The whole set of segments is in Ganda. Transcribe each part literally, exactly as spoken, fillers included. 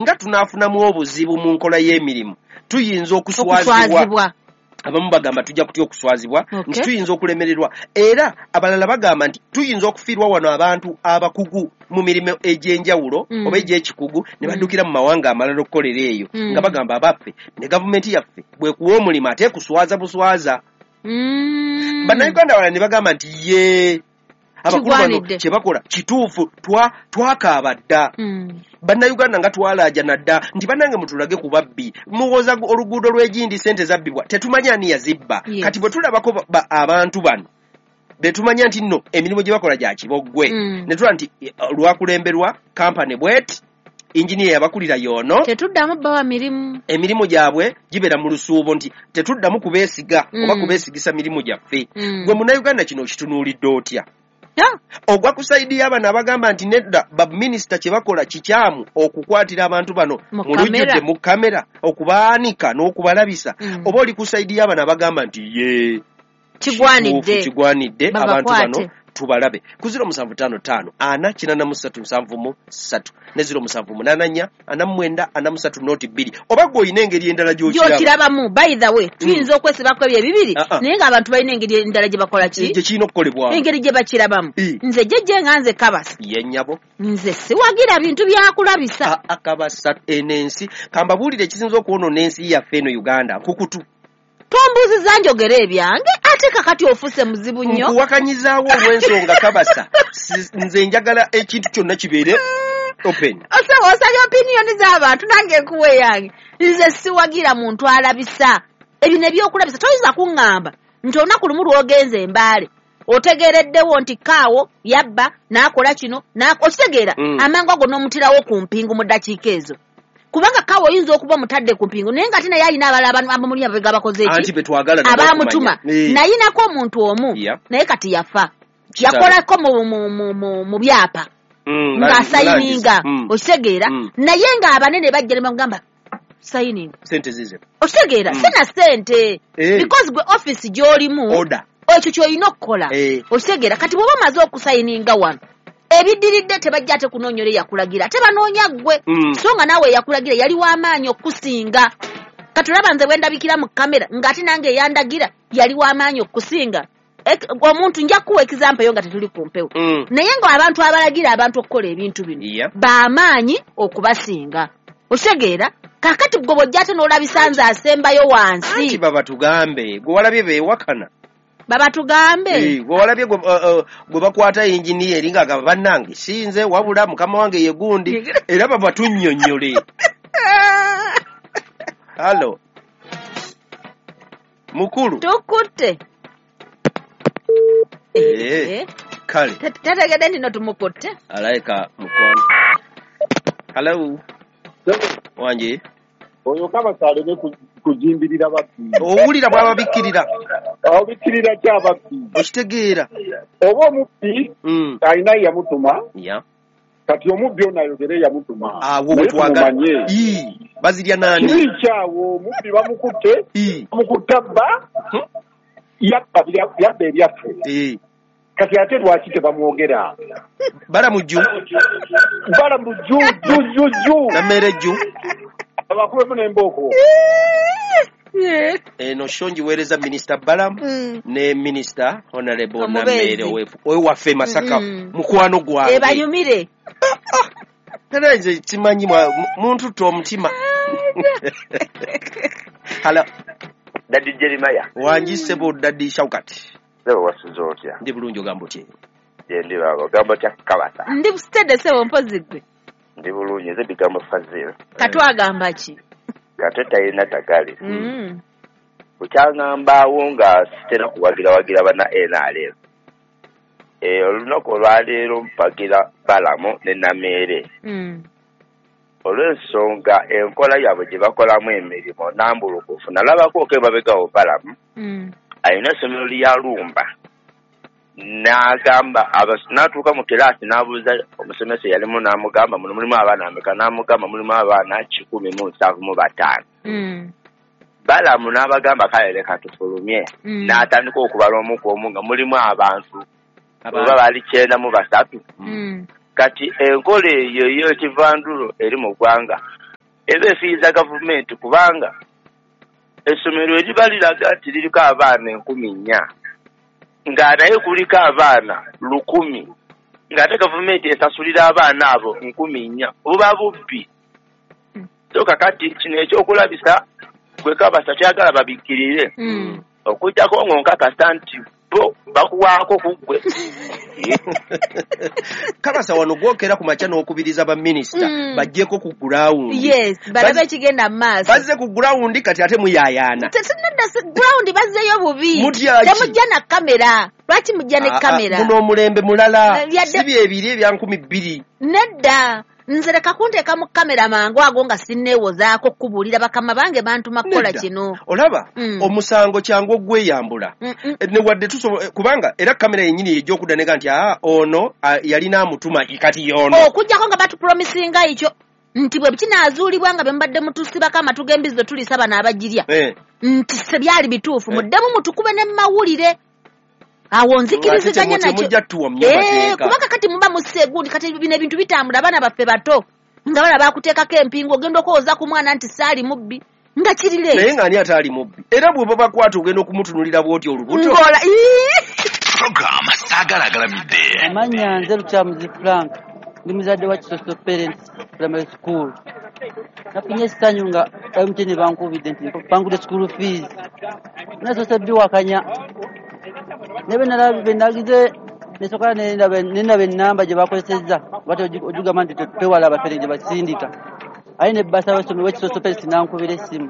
Nga tunaafunamu obuzibu mu nkola y'emirimu, tuyinza okuswazibwa. Abamu bagamba tujja kutya okuswazibwa, nti tuyinza okulemererwa, era abalala bagamba nti tuyinza okufiirwa wano abantu abakugu mu mirimu egy'enjawulo mm. oba egy'ekikugu, ne baddukira mu mawanga amalala okukolera eyo, mm. nga bagamba abaffe ne gavumenti yaffe bwekuwa omulimu ate kuswaza buswaza. mm. Bannayuganda abalala ne bagamba nti ye abakulu bano kye bakola kituufu, twakaaba dda. mm. Bannayuganda nga twalaajana dda nti bannange mutulage ku babbi, muwoza oluguudo lw'egindi sente zabbibwa, tetumanyi ani yazibba. yes. Kati bwe tulabako abantu bano betumanya nti nno emirimu gye bakola gya kiboggwe, mm. ne tulaba nti lwakulemberwa kampani bweti, engineer yabakulira yono, tetuddamu bawa mirimu, emirimu gyabwe gibeera mu lusuubo, nti tetuddamu kubeesiga mm. oba kubeesigisa mirimu gyaffe. mm. Gwe Munnayuganda kino okitunuulidde otya? Ogwa ku sayidi y'abano abagamba nti nedda, baminisita kye bakola kikyamu okukwatira abantu bano mu lujjudde mu kamera, okubaanika n'okubalabisa, mm. oba oli ku sayidi y'abano abagamba nti ye kigwanidde, kigwanidde abantu bano tubalabe. Ku ziro musanvu ttaano ttaano ana kinaana mu ssatu nsanvu mu ssatu ne ziro musanvu munaana nnya ana mu mwenda ana mu ssatu nooti bbiri, oba gwe olina engeri endala gy'okirabamu. By the way, tuyinza mm. okwesibako ebyo ebibiri, uh -uh. naye ng'abantu balina engeri endala gye bakola ki gye kirina okukolebwamu, engeri gye bakirabamu. Nze jjejje nga nze Kabasa, ye nnyabo, nze siwagira bintu byakulabisa. Akabasa eno ensi, kambabuulire ekisinza okwonoona ensi yaffe eno Uganda, nkukutu. Tombuuziza njogera ebyange, ate kakati ofuse muzibu nnyo. Nkuwakanyizaawo olw'ensonga Kabasa, nze njagala ekintu kyonna kibeere open. Osaba osabye opiniyoni z'abantu, nange nkuwa eyange. Nze siwagira muntu alabisa ebino ebyokulabisa. Toyinza kuŋŋamba nti olunaku lumu lw'ogenze Embaale otegeereddewo nti kaawo yabba n'akola kino, okitegeera amangu ago n'omutirawo ku mpingu mu ddakiika ezo, kubanga kaawo oyinza okuba omutadde ku mpingu naye nga ate naye alina abalala abamuli ababega bakoze eki abamutuma. Nayinako omuntu omu naye kati yafa, yakolako mu byapa ng'asayininga, okitegeera, naye ng'abanene bajja ne bamugamba sayininga okitegeera, sina ssente because gwe office gy'olimu ekyo ky'olina okukola, okitegeera. Kati bw'oba omaze okusayininga wano, ebiddiridde tebajja ate kunoonyola eyakulagira, ate banoonya ggwe, so nga naawe eyakulagira yali w'amaanyi okusinga. Kati olaba nze bwe ndabikira mu kamera ng'ate nange eyandagira yali w'amaanyi okusinga. Omuntu nja kuwa example yo nga tetuli ku mpewo, naye ng'abantu abalagira abantu okukola ebintu bino b'amaanyi okubasinga, okitegeera. Kaakati gwe bw'ojja ate n'olabisa nze asembayo wansi, anti babatugambe gwe walabye beewakana, babatugambe gwe walabye gwe bakwata engineer eri ng'agamba bannange sinze wabula mukama wange ye gundi, era babatunnyonnyole. Halo mukulu, tukutte. Kale tategedde nti no tumukutte, alayika mukwano. Halo wanje, oyo Kabasa aleme kujimbirira babbi. Owulira bw'ababikkirira, ababikkirira ki ababbi? Okitegeera oba omubbi alina yamutuma, kati omubbi ono ayogere yamutuma, awo wetwagala bazirya nani? Kibi kyawo omubbi bamukutte, bamukutte abba, yabba yabba ebyaffe. Kati ate lwaki tebamwogera? Balamujju, balamujju jju jju jju Nammere jju abakubemu n'embooko. Eno sho ngiweereza Minisita Balamu ne Minisita Honorable Nammere owaffe Masaka, mukwano gwange. Ebanyumire. Era nze simanyi muntu tto omutima. Halo Daddy Jeremiah. Wangi ssebo Daddy Shaukat. Ssebo wasuze otya? Ndi bulungi, ogamba otya? Gye ndi baba, ogamba otya Kabasa? Ndi busitedde ssebo, mpozi ggwe. Ndi bulungi, nze bigambo Fazil. Katwagamba ki? Kate talina tagali. Bukyaŋŋambaawo nga sitera kuwagirawagira banna N R M. Olunaku olwaleero mpagira Balamu ne Nameere. Olw'ensonga enkola yaabwe gye bakolamu emirimu nambulukufu. Nalabako emabega Balamu alina essomero lya Lumba, n'agamba n'atuuka mu kiraasi n'abuuza omusomesa eyalimu n'amugamba muno mulimu abaana ameka, n'amugamba mulimu abaana kikumi mu nsanvu mu bataano. Balamu n'abagamba kale leka tufulumye, n'atandika okubala omu ku omu nga mulimu abantu oba baali kyenda mu basatu. Kati enkola eyo ey'ekivandulo eri mu ggwanga Eba efiiriza gavumenti kubanga essomero eriba liraga nti liriko abaana enkumi nnya nga naye kuliko abaana lukumi ng'ate gavumenti esasulira abaana abo nkumi nnya, buba bubbi. So kakati kino ekyokulabisa gwe Kabasa kyagala babikkirire Mm. okuggyako ng'onkakasa nti bo bakuwaako ku ggwe. Kabasa wano gwokera ku makya n'okubiriza baminisita Mm. bajjeko ku gurawundi. Yes, balabe Bazze- ekigenda mu maaso. Bazze ku gurawundi kati ate muyaayaana. Tetunadda ground bazzeeyo bubi. Mutya ki? Temujja na kamera. Lwaki mujja ne Ah, ah, kamera? Guno omulembe mulala. Eh, yadde- Si byebiri ebya nkumi bbiri. Nedda. Nze leka kunteeka mu kamera mangu ago nga sinneewozaako kubuulira bakama bange bantuma kukola Nedda. kino. Olaba Mm. omusango kyangu ogweyambula. Mm, mm. Eh, Ne wadde tusobola eh, kubanga era kamera yennyini yejja okudda nega nti aa ono ah, yalina amutuma kati y'ono. Okuggyako nga batupromisinga ekyo nti bwe kinaazuulibwa nga bye mubadde mutusibako amatu g'embizi bwe tuliisa bano abagirya Eh, nti se byali bituufu Eh. muddemu mutukube ne mawulire awo nzikiriziganya Ate nakyo. temujja tuwa mu Eh, mateeka. kubanga kati muba mussa egundi kati bino ebintu bitambula abaana baffe bato nga bala bakuteekako empingu ogenda okwowoza ku mwana nti saali mubbi nga kiri Naye leeti ng'ani ataali mubbi? Era bwe babakwata ogenda okumutunulira bw'oti olubuto. Ng'ola ii! Program Saagala Agalamidde. Amannya nze Lukyamuzi Frank, ndi muzadde wa Kisoso Parents Primary School. Nafunye essanyu nga M T N bankubidde nti bangudde school fees. Nasoose biwakanya. Naye bwe nalabye bwe nagize nesooka ne ndaba ne ndaba ennamba gye bakozesezza bati ogigamba nti twewala abafere gye basindika. Aye ne bbasa w'essomero w'Ekisoso Parents n'ankubira essimu.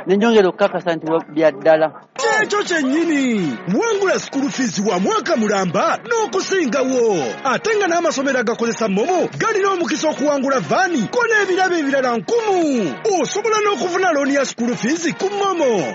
Ne nnyongera okukakasa nti bya ddala. Kyekyo kyennyini wangula school fees wa mwaka mulamba n'okusingawo ate nga n'amasomero agakozesa MoMo galina omukisa okuwangula vaani ko n'ebirabo ebirala nkumu. Osobola n'okufuna looni ya school fees ku MoMo.